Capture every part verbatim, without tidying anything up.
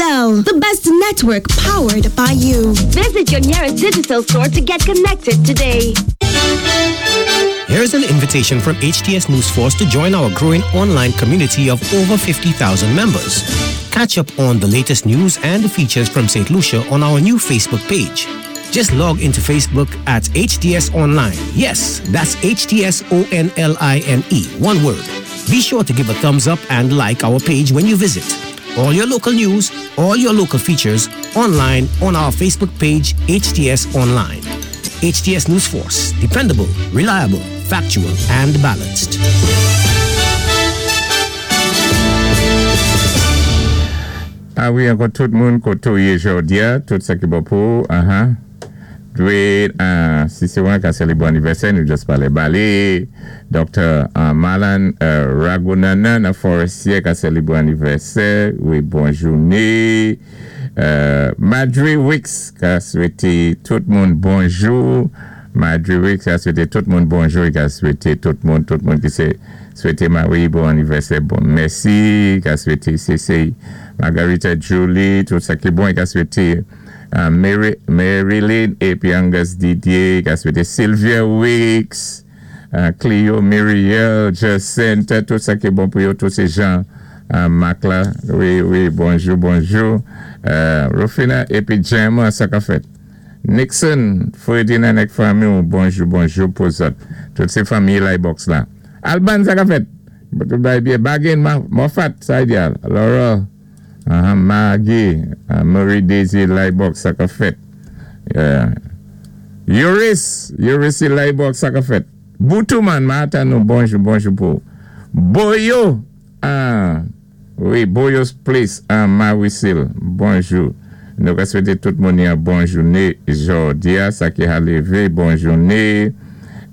Digicel, the best network powered by you. Visit your nearest Digicel store to get connected today. Here's an invitation from H T S News Force to join our growing online community of over fifty thousand members. Catch up on the latest news and features from Saint Lucia on our new Facebook page. Just log into Facebook at H T S Online. Yes, that's H T S O N L I N E, one word. Be sure to give a thumbs up and like our page when you visit. All your local news, all your local features, online on our Facebook page, H T S Online. H T S News Force, dependable, reliable, factual, and balanced. Ah wi, ankò tout moun koté ou yé jòdi-a, tout sa ki bon pou, uh-huh. Dwé, uh, si sé wan ka sélébwé anniversaire, nou just palé ba li. Docteur uh, Malan uh, Ragunanan nan Forestier ka sélébwé anniversaire, wi, bon jouné. Uh, Madry Wicks ka swété tout moun bonjou. Madry Wicks ka swété tout moun bonjou, ka swété tout moun, tout moun ki sé swété Marie bon anniversaire, bon mèsi, ka swété C C Margarita Julie, tout sa ki bon, ka swété uh, Mary, Marilyn épi Angus Didier, ka swété Sylvia Wicks, uh, Cleo Muriel, Jacinta, tout sa ki bon pou yo, tout sé jan uh, Mac la, wi, wi, bonjou, bonjou. Uh, Rufina épi Gemma, sa ka fèt. Nixon, Ferdinand ak fanmi, bonjou, bonjou pou zòt. Tout sé fanmi Box la. Alban, sa ka fèt. Byen, Bagin, Moffat, sa idéal. Laura, uh, Maggie, uh, Marie Daisy, Box, sa ka fèt. Uh, Yuris, Yuris Box, sa ka fèt. Boutouman, mata nou, bonjou, bonjou pou. Boyo, ah, wi, Boyo's Place, ah, Mawisil, bonjou. Nou ka swété tout moun yon bon jouné jòdi-a, sa ki ka lévé, bon jouné.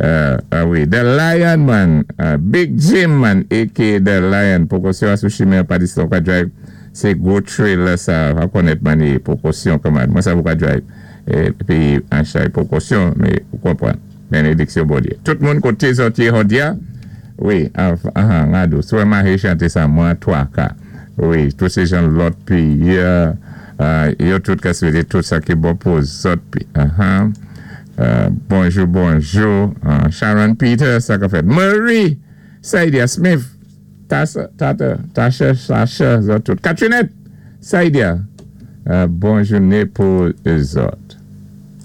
Uh, ah wi, The Lion Man, uh, Big Jim Man, A K A. The Lion, pwékosyon sou chimen pa disi ka drive, sé gwo trailer sa, va konnèt man pwékosyon kòman, mwen sa pou ka drive, épi an chay pwékosyon, mé ou konpwann, bénédiksyon Bondyé. Tout moun koté zòt yé jòdi-a, wi, ah, ah, ngado, sou mahi chanté sa, mwen twa ka, wi, tout sé jan lòt péyi, uh, yo tout ka swété tout sa ki bon pou zòt pi, uh-huh. Uh, bonjou, bonjou. Uh, Sharon Peter, sa ka fèt. Marie, Saidia Smith, Tasa, Tata, Tasha, Sasha, zòt tout. Catrinette, Saidia, uh, bon jouné pou zòt.